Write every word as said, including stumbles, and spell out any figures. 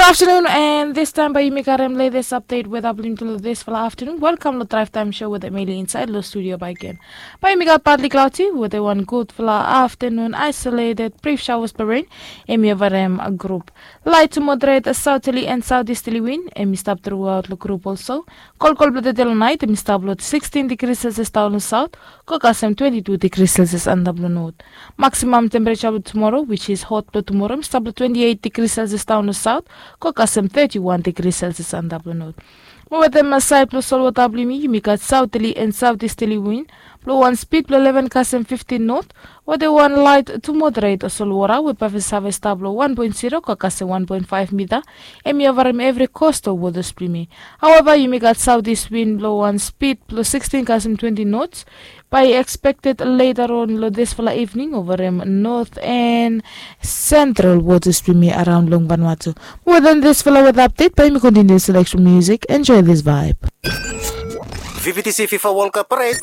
Afternoon, and this time bae yumi karem latest update weather blong yumi long disfala afternoon. Welcome long Drive Time Show with Emily inside long studio bae again. Bae yumi gat partly cloudy with a one gudfala afternoon isolated brief showers blong rain. Hemi ovarem a group light to moderate southerly and southeasterly wind. Hemi stap throughout long group also. Kolkol blong tede long nait hemi stap long sixteen degrees Celsius daon long south, go kasem twenty-two degrees Celsius antap long north. Maximum temperature blong tomorrow, which is hot blong tomorrow, hemi stap long twenty-eight degrees Celsius daon long south, go kasem thirty-one degrees Celsius antap long north. Mo wetem saed blong solwota blong yumi, yumi gat southerly and southeasterly wind blong wan speed blong eleven kasem fifteen north, wetem wan light to moderate solwota we bae save stap long one point zero go kasem one point five mita. Hemi ovarem evri coastal waters blong yumi. However, yumi gat southeast wind blong wan speed blong sixteen kasem twenty knots bae expected later on long disfala evening ovarem north and central waters blong yumi around long Vanuatu. Wetem disfala weather update, bae yumi continue selection music. Enjoy this vibe. V V T C FIFA World Cup Parade